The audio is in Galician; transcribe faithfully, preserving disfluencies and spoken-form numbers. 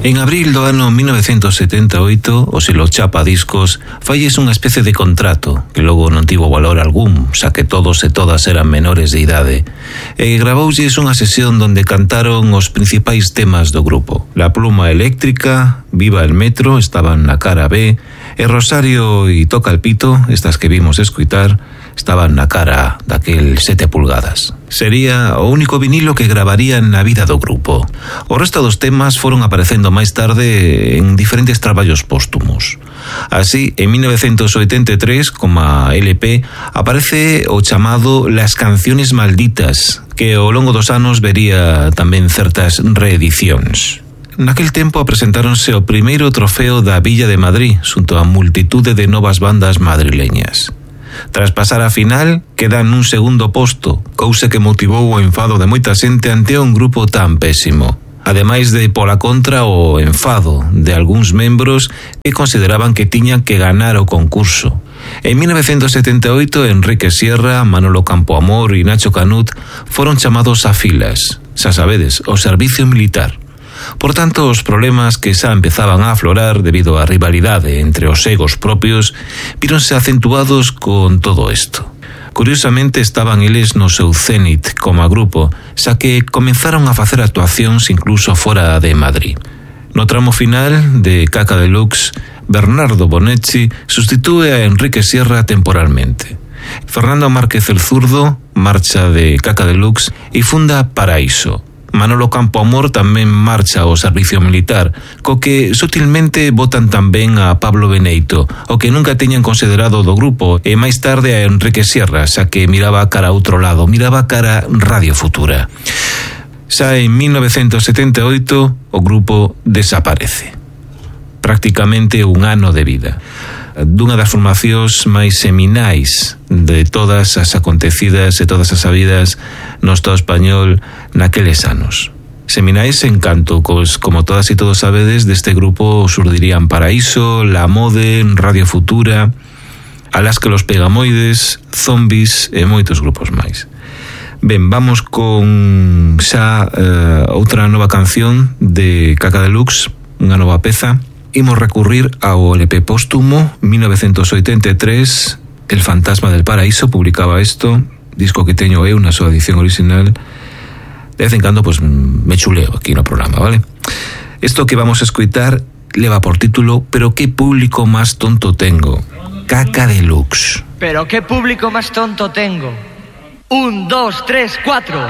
En abril do ano mil novecientos setenta e oito, o selo Chapa Discos falles unha especie de contrato que logo non tivo valor algún, xa que todos e todas eran menores de idade, e gravoulles unha sesión donde cantaron os principais temas do grupo. La Pluma Eléctrica, Viva el Metro estaban na cara B, e Rosario e Toca el Pito, estas que vimos escuitar, estaban na cara daquel sete pulgadas. Sería o único vinilo que gravarían na vida do grupo. O resto dos temas foron aparecendo máis tarde en diferentes traballos póstumos. Así, en mil novecientos oitenta e tres, como L P, aparece o chamado Las Canciones Malditas, que ao longo dos anos vería tamén certas reedicións. Naquel tempo presentáronse o primeiro trofeo da Villa de Madrid, xunto a multitude de novas bandas madrileñas. Tras pasar a final, quedan nun segundo posto, cousa que motivou o enfado de moita xente ante un grupo tan pésimo. Ademais de, pola contra, o enfado de algúns membros que consideraban que tiñan que ganar o concurso. En mil novecientos setenta e oito, Enrique Sierra, Manolo Campoamor e Nacho Canut foron chamados a filas, xa sabedes, o servicio militar. Por tanto, os problemas que xa empezaban a aflorar debido á rivalidade entre os egos propios víronse acentuados con todo isto. Curiosamente, estaban eles no seu cénit como grupo, xa que comenzaron a facer actuacións incluso fora de Madrid. No tramo final de Caca Deluxe, Bernardo Bonetti sustitúe a Enrique Sierra temporalmente. Fernando Márquez el Zurdo marcha de Caca Deluxe e funda Paraíso. Manolo Campoamor tamén marcha ao servicio militar, co que sutilmente botan tamén a Pablo Beneito, o que nunca teñan considerado do grupo, e máis tarde a Enrique Sierra, xa que miraba cara a outro lado, miraba cara Radio Futura. Xa en mil novecientos setenta e oito o grupo desaparece. Prácticamente un ano de vida. Dunha das formacións máis seminais de todas as acontecidas e todas as sabidas no Estado español naqueles anos. Seminais en canto, cos, como todas e todos sabedes, deste grupo surdirían Paraíso, La Mode, Radio Futura, Alaska los Pegamoides, Zombies e moitos grupos máis. Ben, vamos con xa uh, outra nova canción de Caca Deluxe, unha nova peza. Imos recurrir ao L P póstumo mil novecientos oitenta e tres, El Fantasma del Paraíso publicaba isto, disco que teño eu na súa edición original. De vez en cando pues, me chuleo aquí no programa, vale? Isto que vamos a escuitar leva por título Pero qué público más tonto tengo. Caca Deluxe. Pero qué público más tonto tengo. Un, dos, tres, cuatro.